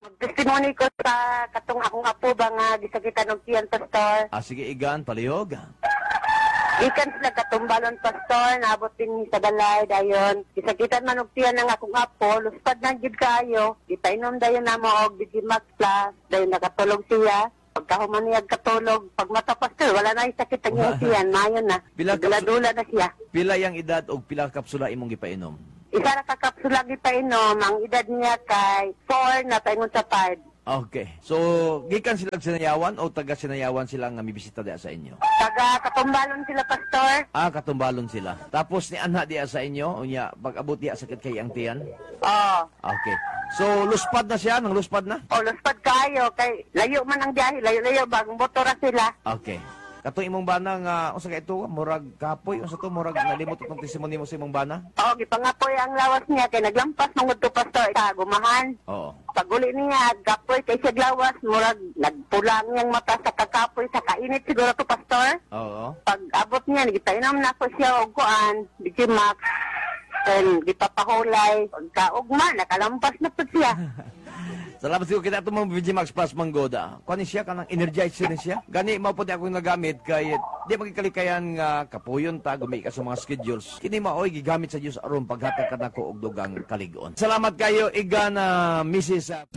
Mag-testimony ko sa katong akong apo ba nga gisakitan og tiyan, Pastor. Ah, sige, Igan, palihog. Gikan sila Katumbalon, Pastor, naabot din sa balay dayon. Gisakitan man og tiyan ang akong apo, luspad na gyud kaayo. Gipainom dayon namo og Digimax Plus, dayon nakatulog siya. Pagkahuman niya katulog, pag mata, Pastor, wala na sakit ang iyang tiyan, maayo na. Pila Dula-dula na siya. Pila yang edad og pila kapsula imong gipainom? Isa ra ka kapsula gipainom, ang edad niya kay 4 na paingon sa 5. Okay. So, gikan sila Sinayawan o taga Sinayawan sila nga mibisita diya sa inyo? Taga Katumbalon sila, Pastor. Ah, Katumbalon sila. Tapos ni anha diya sa inyo, unya pag abot diya sakit kay ang tiyan. Oo. Okay. So, luspad na siya, nang luspad na? O, luspad kayo. Kay layo man ang biyahe. Layo-layo. Bagong motor ra sila. Okay. Katong imong bana nga unsa kay ito, murag kapoy, unsa to, murag nalimot itong testimony mo sa imong bana? O, gipangapoy ang lawas niya. Kay naglampas mangud to, Pastor, sa gumahan. Pag uli niya, gapoy kay siya lawas. Murag nagpula ang iyang mata sa kakapoy. Sa kainit siguro to, Pastor. Pag abot niya, gipainom na ko siya og kuan, Digimax. Then, gipapahulay. Pagkaugma, nakalampas na po siya. Salamat siguro kita itong mga VG Max Plus Manggoda. Kuha ni siya, kanang energizer ni siya. Gani, mao po di akong nagamit kay di magkikalikayan nga kapuyon ta, gumi ka sa mga schedules. Kini maoy gigamit sa Dios aron paghatag kanako og dugang kalig-on. Salamat kayo, Igan, Mrs.